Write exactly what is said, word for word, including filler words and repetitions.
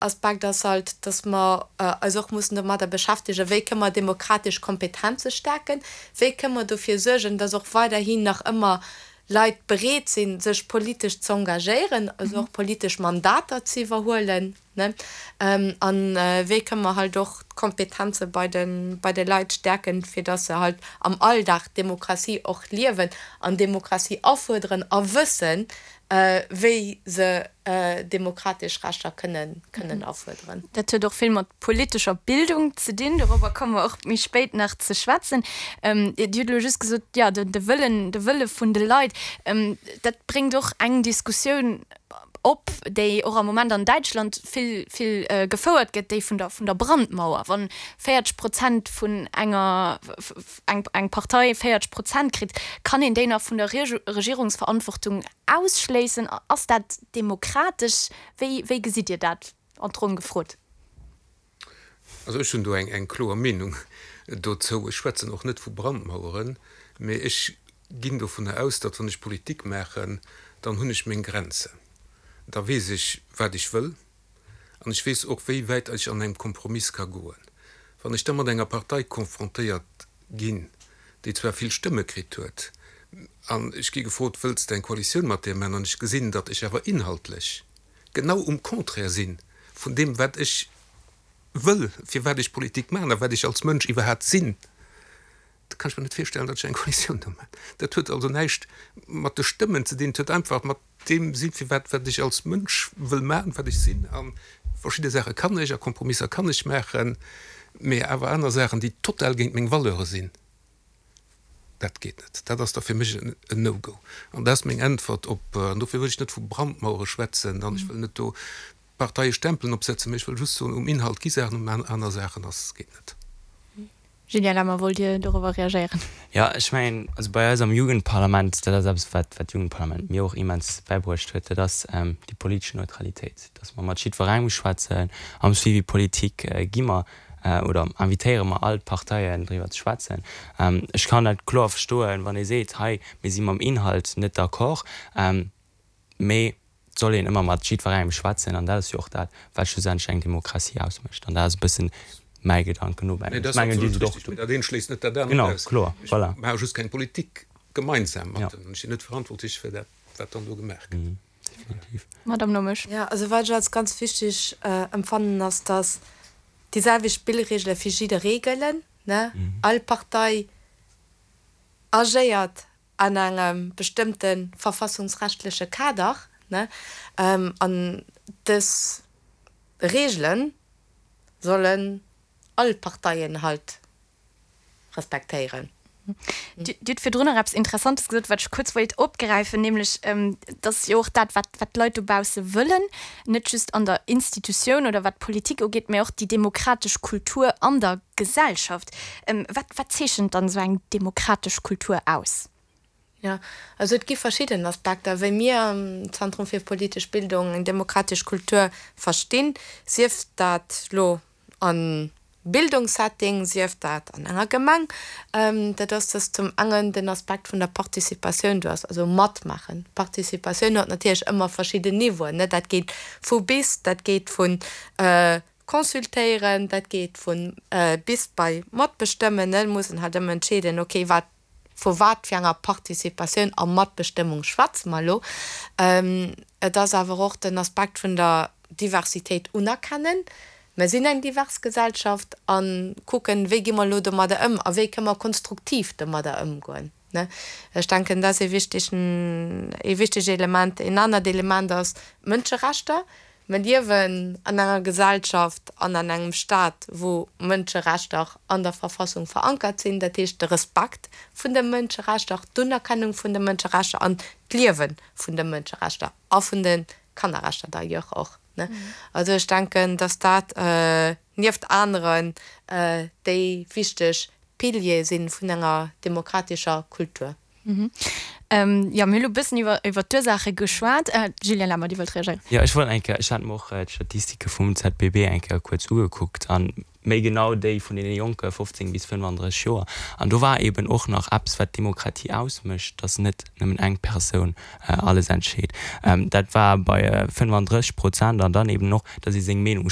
Aspekt ass halt, dass mer eis och mussen domadder beschäftegen, wéi kënne mer demokratesch Kompetenze stäerken, wéi kënne mer dofir suergen, dass och weiderhin nach ëmmer Leit bereet sinn, sech politesch ze engagéieren, also och politesch Mandater ze iwwerhuelen, ne, a wéi kënne mer halt och d'Kompetenze bei de bei de Leit stäerken, fir dass se halt am Alldag d'Demokratie och liewen an Demokratie afuerderen a wëssen, wéi se demokratesch Rechter kënnen kënnen afuerderen. Dat huet och vill mat politescher Bildung ze dinn, dorobber komme mer och méi spéit nach ze schwätzen. Dir hutt elo just gesot, jo, de Wëllen, de Wëlle vun de Leit, dat bréngt och eng Diskussioun op, déi och am Moment an Däitschland vill, vill gefouert gëtt, déi vun der, vun der Brandmauer. Wann véierzeg Prozent vun enger, eng, eng Partei véierzeg Prozent kritt, kann een déi nach vun der Regierungsverantwortung ausschléissen? Ass dat demokratesch? Wéi, wéi gesitt Dir dat? An d'Ronn gefrot. Also ech hunn do eng, eng kloer Meenung dozou. Ech schwätzen och net vu Brandmaueren, mee ech ginn dovunner aus, datt wann ech Politik maachen, dann hunn ech meng Grenzen. Da weess ech, wat ech wëll, an ech weess och, wéi wäit ech an engem Kompromiss ka goen. Wann ech da mat enger Partei konfrontéiert ginn, déi zwar vill Stëmme kritt huet, an ech gi gefrot, Wëlls de eng Koalitioun mat där maachen? An ech gesinn, datt ech awer inhaltlech genau um Contraire si vun deem, wat ech wëll, firwat ech Politik maachen a wat ech als Mënsch iwwerhaapt sinn, da kann ech mer net virstellen, datt ech eng Koalitioun do maachen. Dat huet also näischt mat de Stëmmen ze dinn, et huet einfach mat deem sinn, firwat, wat ech als Mënsch wëll maachen, wat ech sinn. A verschidde Saache kann ech a Kompromisser kann ech maachen, mee awer aner Saachen, déi total géint meng Valeure sinn, dat geet net. Dat ass da fir mech en No-Go. An dat ass meng Äntwert op, an dofir wëll ech net vu Brandmauere schwätzen an ech wëll net do Parteie Stempelen opsetzen, mee ech wëll just soen, um Inhalt gi Saachen, um aner Saachen ass, geet net. Julien Lemmer, Wollt Dir dorobber reagéieren? Jo, ech mengen, also bei eis am Jugendparlament, dat ass eppes, wat wat d'Jugendparlament mir och immens bäibruecht huet, dat ass déi politesch Neutralitéit, dass mer mat jiddwerengem schwätzen. Am Suivi politique gi mer oder invitéiere mer all d'Parteien, driwwer ze schwätzen. Ech kann dat kloer verstoen, wann ee seet, hei, mir si mam Inhalt net d'accord, mee et soll een ëmmer mat jiddwerengem schwätzen an dat ass jo och dat, wat schlussendlech eng Demokratie ausmécht. An dat ass e bëssen mäi Gedanken dobäi. Nee, dat ass absolut richteg, mee dat eent schléisst net dat anert Genau, aus. kloer, Ech voilà. maache just keng Politik gemeinsam mat Ja. deenen. Ech sinn net verantwortlech fir dat, wat dann do gemaach gëtt. Mhm, definitiv. Madame Nomesch. Jo, also wat ech als ganz wichteg empfannen, ass, dass déi selwecht Spillregele fir jidderee gëllen, ne? All Partei agéiert an engem bestëmmte verfassungsrechtleche Kader, ne? An dës Regele sollen all Parteien halt respektéieren. Dir hutt virdrun nach eppes Interessantes gesot, wat ech kuerz wollt opgräifen, nämlech, dass jo och dat, wat wat d'Leit dobausse wëllen, net just an der Institutioun oder wat d'Politik ugeet, mä och déi demokratesch Kultur an der Gesellschaft. Wat wat zeechent dann esou eng demokratesch Kultur aus? Jo, also et gi verschidden Aspekter, wéi mir am Zentrum fir politesch Bildung eng demokratesch Kultur verstinn, sief dat lo am Bildungssetting, sief dat an enger Gemeng. Dat ass, dass zum engen den Aspekt vun der Participatioun do ass, also matmaachen. Participatioun huet natierlech ëmmer verschidden Niveauen, ne, dat geet vu bis, dat geet vu consultéieren, dat geet vu bis bei matbestëmmen, ne, et muss een halt ëmmer entscheeden, okay, wat Vu wat fir enger Participatioun a Matbestëmmung schwätze mer elo? Et ass awer och den Aspekt vun der Diversitéit unerkennen. Mer sinn eng divers Gesellschaft a kucken, wéi gi mer elo domadder ëm a wéi kënne mer konstruktiv domadder ëmgoen. Ech denken, dat ass ee wichtegen, ee wichteg Element. Een anert Element ass d'Mënscherechter. Mer liewen an enger Gesellschaft an an engem Staat, wou Mënscherechter an der Verfassung verankert sinn, dat heescht de Respekt vun de Mënscherechter, d'Unerkennung vun de Mënscherechter an d'Liewe vun de Mënscherechter a vun de Kannerrechter d'ailleurs och. Also ech denken, dass dat nieft aneren déi wichteg Piliere si vun enger demokratescher Kultur. Mhm. Ähm, jo, mir hu lo e bëssen iwwer, iwwer d'Ursaache geschwat. Äh, Julien Lammer, Dir wollt reagéieren. Jo, ech wollt eng Kéier, ech hat mer och d'Statistike vum ZBB eng Kéier kuerz ugekuckt an méi genau déi vun deene Jonke fofzéng bis fënnfandrësseg Joer. An do war eben och nach eppes, wat d'Demokratie ausmécht, dass net nëmmen eng Persoun alles entscheet. Dat war bei fënnfandrësseg Prozent an dann eben och, dass ee seng Meenung, ech mengen,